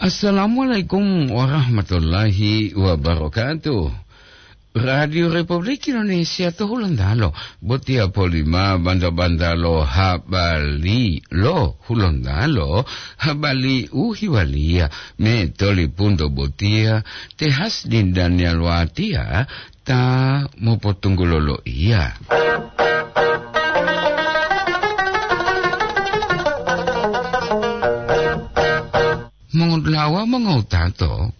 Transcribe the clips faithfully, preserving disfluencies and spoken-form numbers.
Assalamualaikum warahmatullahi wabarakatuh. Radio Republik Indonesia to Hulontalo, botiya polima banta-banta lo habari lo Hulontalo, habari u hiwaliya me tolipunto botiya, te Hasdin Daniel Watiya ta mopotunggulo loiya. Mongolawa mongowutato,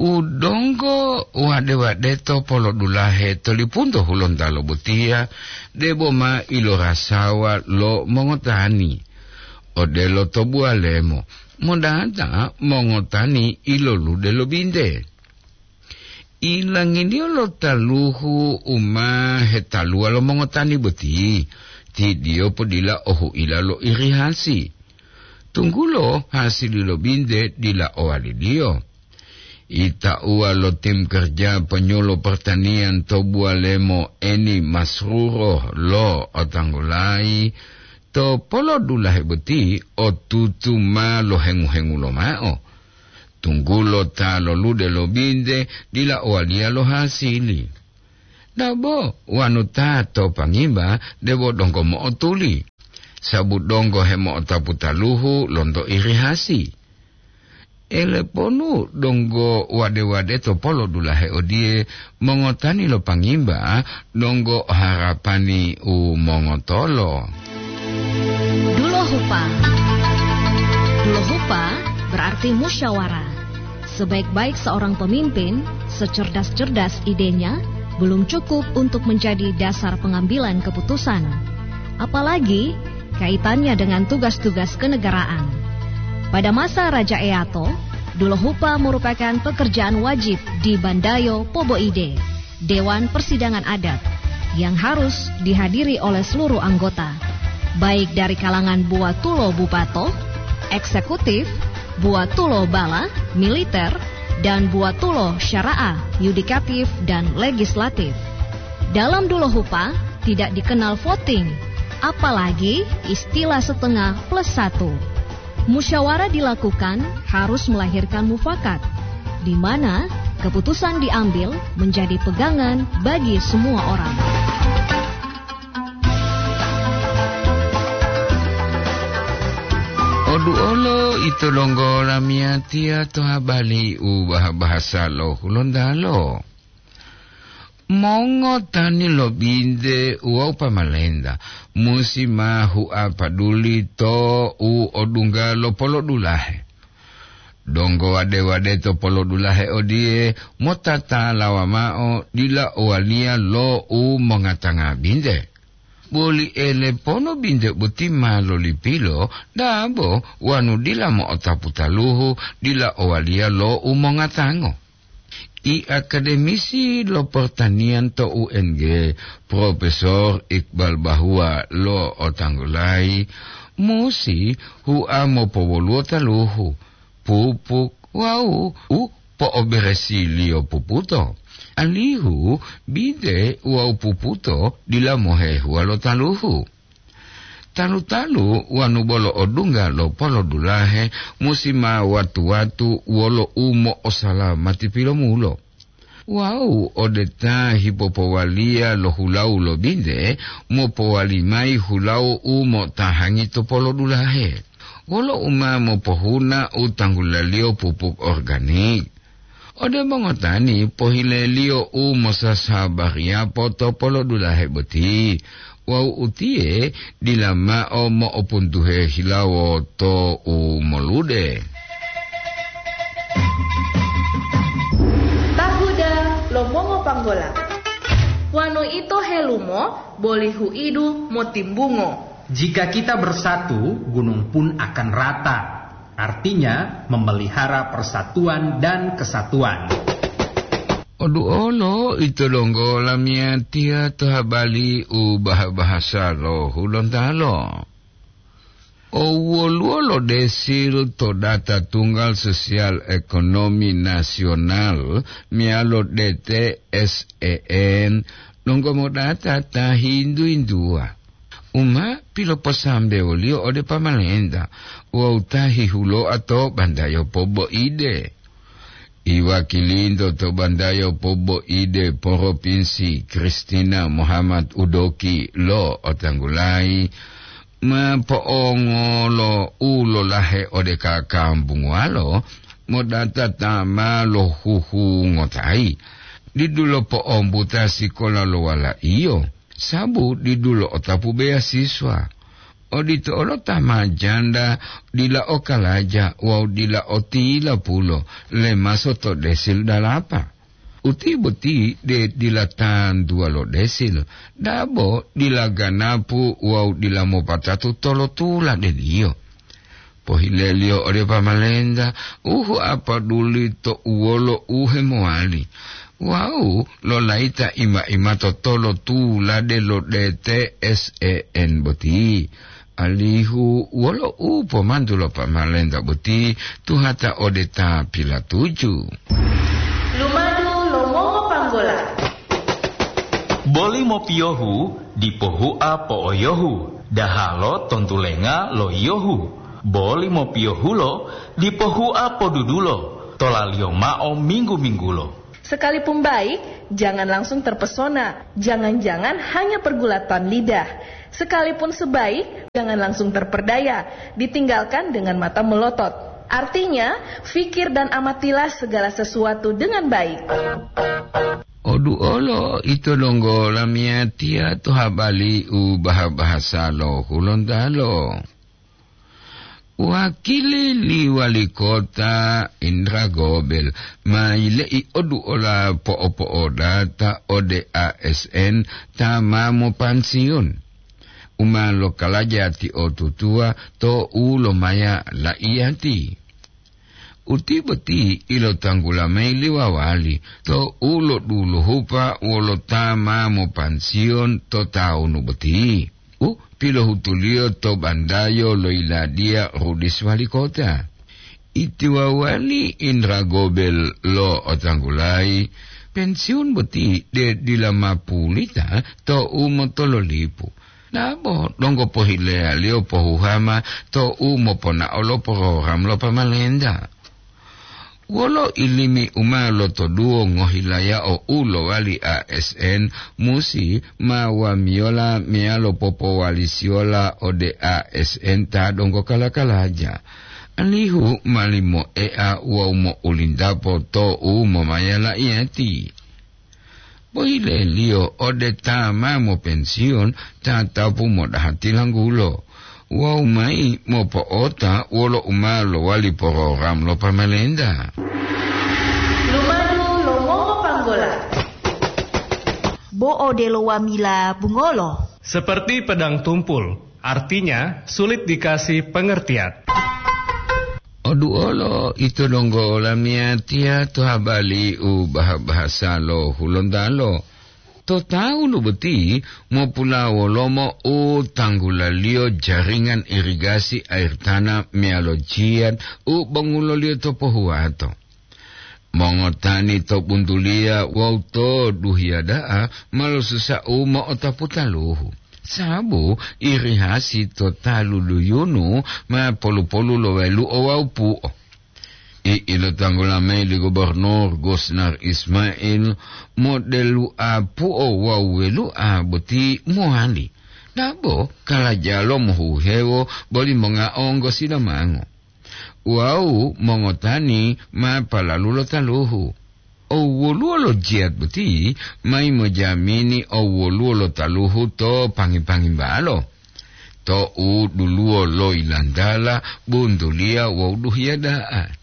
u donggo wade-wadeto polodulahe tolipunto Hulontalo botiya, debo ma ilorasawa lo mongotani. Odelo to buwalemo, modata mongotani ilolude lo binte. Ilanginiyo lo taluhu u ma hetaluwa lo mongotani boti, tidiyo podila ohu'ila lo irihasi. Tunggulo hasili lo binte dila owaliliyo. Itauwa lo tim kerja ponyolo pertanian to buwalemo Eni Masruro lo otanggulayi, to polodulahe boti otutu ma lohengu-hengulo mao. Tunggulo ta lolude lo binte dila owaliya lo hasili. Dabo wanu ta to pangimba debo donggo mo'otuli, sabu donggo hemo'otapu taluhu lonto irihasi. Eleponu donggo wade-wade to polodulahe odiye, mongotani lo pangimba donggo harapani u mongotolo. Dulohupa. Dulohupa berarti musyawarah. Sebaik-baik seorang pemimpin, secerdas-cerdas idenya, belum cukup untuk menjadi dasar pengambilan keputusan. Apalagi kaitannya dengan tugas-tugas kenegaraan. Pada masa Raja Eato, Dulohupa merupakan pekerjaan wajib di Bandayo Poboide, Dewan Persidangan Adat, yang harus dihadiri oleh seluruh anggota, baik dari kalangan buwatulo bupato, eksekutif, buwatulo bala, militer, dan buwatulo syara'a, yudikatif, dan legislatif. Dalam Dulohupa tidak dikenal voting, apalagi istilah setengah plus satu. Musyawarah dilakukan harus melahirkan mufakat, di mana keputusan diambil menjadi pegangan bagi semua orang. Oduolo ito donggo lamiyatiya to habari u bah-, bahasa lo Hulontalo. Mongotani lo binte wawu pamalenta musi ma hua paduli to u odungga lo polodulahe. Donggo wade-wade to polodulahe odiye motatalawa mao dila owaliya lo u mongatanga binte. Boli elepono binte boti ma lolipilo dabo wanu dila mo'otapu taluhu dila owaliya lo u mongatango. I akademisi lo pertanian to U N G, Profesor Iqbal Bahua lo otanggulayi, musi hua mopowoluwo taluhu, pupuk wawu u po'oberesiliyo puputo, alihu binte wawu puputo dila mohehuwa lo taluhu. Talu-talu wanu bolo odungga lo polodulahe musi ma watu-watu wolo umo'osalamati pilomulo. Wawu ode ta hipopowaliya lo hulawu lo binte, mopowali mayi hulawu u mo'otahangi to polodulahe. Wolo u ma mopohuna u tanggulaliyo pupuk organik. Ode mongotani pohileliyo u mosasabariyapo to polodulahe boti, wawu utiye dila mao mo'opuntuhe hilawo to u molude. Tahuda lo mongopanggola. Wanu ito helumo boli huidu motimbungo. Jika kita bersatu, gunung pun akan rata. Artinya, memelihara persatuan dan kesatuan. Oduolo ito donggo lamiyatiya to habari u bah-, bahasa lo Hulontalo. O woluwo lo desil to data tunggal sosial ekonomi nasional meyalo D T S E N donggo modata ta hintu-hintuwa. u ma piloposambewoliyo ode pamalenta wawu ta hihuloa to bandayo poboide. Iwakilinto to bandayo poboide poropinsi Kristina Muhammad Udoki lo otanggulayi ma po'ongolo u lolahe ode kakambunguwalo modata ta ma lohuhungotayi, didulo po'ombuta sikola lo wala'iyo, sabu didulo otapu beasiswa. Odito olo ta ma janda dila o kalaja wawu dila o tilapulo lemaso to desil dalapa. Uti boti de dila tantuwa lo desil, dabo dila ganapu wawu dila mopatatu tolotula deliyo. Pohileliyo ode pamalenta, uhu apaduli to uwolo u hemowali, wawu lolayita ima-ima to tolotulade lo D T S E N boti, alihu wolo u pomantu lo pamalenta boti tuhata ode ta pilatuju. Lumadu lo Mongo Panggola. Boli mopiyohu dipo hua po'oyohu, dahalo tontulenga lo yiyohu. Boli mopiyohulo dipo hua podudulo, tolaliyo mao minggu-minggulo. Sekalipun baik, jangan langsung terpesona. Jangan-jangan hanya pergulatan lidah. Sekalipun sebaik, jangan langsung terperdaya. Ditinggalkan dengan mata melotot. Artinya, fikir dan amatilah segala sesuatu dengan baik. Oduolo ito donggo lamiyatiya to habali u baha-bahasa lo Hulontalo. Wakili li wali kota Indra Gobel ma yile'i oduola po'opo'odata ode A S N ta ma mopansiun, u ma lokalaja tiotutuwa to u lomaya la'iyati. Uti boti ilotanggula mayi li wawali to u loduluhupa wolo ta ma mopansiyon to tawunu boti, u pilohutuliyo to bandayo lo yiladiya Rudis wali kota. Itiwawali Indra Gobel lo otanggulayi, pensiun boti de dila ma pulita to u motololipu. Dabo donggo pohileyaliyo pohuhama to u moponao lo program lo pamalenta. Wolo ilimi u ma lotoduwo ngohilayao u lowali A S N musi ma wamiyola meyalo popowalisiyola ode A S N ta donggo kala-kalaja, alihu ma limoea wawu mo'ulintapo to u momaya la'iyati. Boyileliyo ode ta ma mopensiyon tatapu modaha tilanggulo wawu mayi mopo'ota wolo u ma lowali porogram lo pamalenta. Lumadu lo mongopanggola. Bo odelo wamila bungolo. Seperti pedang tumpul, artinya sulit dikasih pengertian. Oduolo ito donggo olamiyatiya to habali u baha-bahasa lo Hulontalo. To tawu lo boti mopulawolomo u tanggulaliyo jaringan irigasi air tanah meyalo jiyat u bonguloliyo to pohuwato. Mongotani to buntuliya wawu to duhiya da'a ma losusa u mo'otapu taluhu, sabu irihasi to talu duyunu ma polu-polu lo welu'o wawu pu'o. I ilotanggula mayi li Gubernur Gosnar Ismail, modelu apu'o wawu welu'a boti mowali. Dabo kalajalo mohuhewo boli mongaonggo sidamango. Wawu mongotani ma palalu lo taluhu. Owoluwo lo jiyat boti mayi mojamini owoluwo lo taluhu to pangi-pangimbalo. To u duluwo lo ilantala, buntuliya wawu duhiya da'a.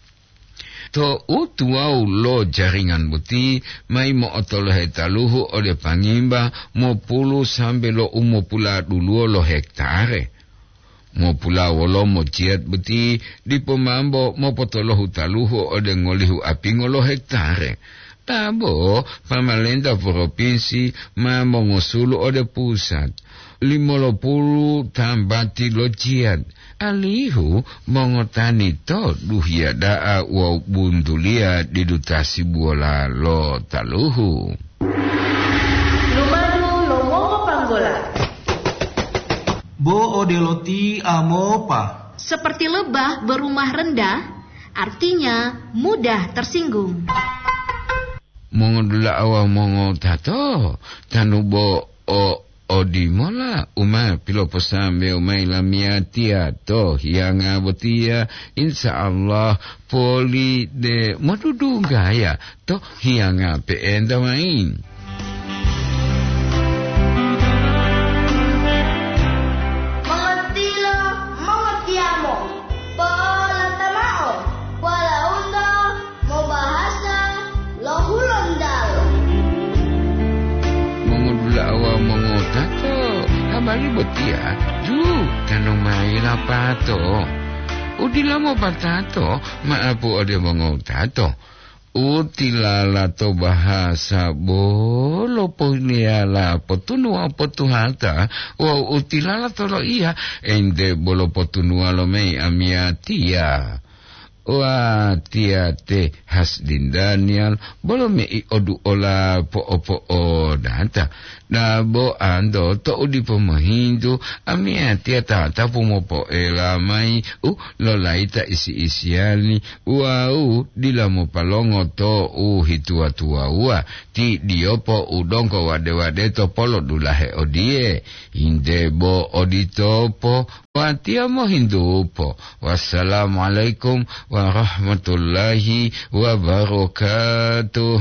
To u tuwawu lo jaringan boti mayi mo'otolohe taluhu ode pangimba mopulu sambe lo u mopuladuluwo lo hektare. Mopulawolomo jiyat boti dipo mambo mopotolohu taluhu ode ngolihu apingo lo hektare. Dabo pamalenta propinsi ma mongosulu ode pusat limolopulu tambati lo jiyat, alihu mongotani to duhiya da'a wawu buntuliya didu tasibuwola lo taluhu. Lumadu lo mongopanggola. Bo odelo ti amopa. Seperti lebah berumah rendah, artinya mudah tersinggung. Mongodula'a wawu mongotato, tanu bo o odimola u ma piloposambewo mayi lamiyatiya to hiyanga botiya, insya Allah poli de modudunggaya to hiyanga pe'enta mayi. Mongotiyo, mongotiyamo, po'olata mao, walauto mobahasa lo Hulontalo. Mongodula'a wawu mongotato, habari botiya ju tanu mayi lapato. U dila mopatato, ma'apu ode mongotato. U tilala to bahasa bolo pohileyala potunu wawu potuhata, wawu u tilala to loiya ente bolo potunuwa lo mayi amiyatiya. Watiya te Hasdin Daniel bolo mei oduola po'opo'odata. Dabo anto to'u dipo mohintu, amiyatiya tatapu mopoela mayi u lolayita isi-isiyali wawu dila mopalongo to u hituwa-tuwawuwa, ti diyopo u donggo wade-wadeto polodulahe odiye, "Inde bo oditopo." Watiya mohintupo. Wassalamualaikum warahmatullahi wabarakatuh.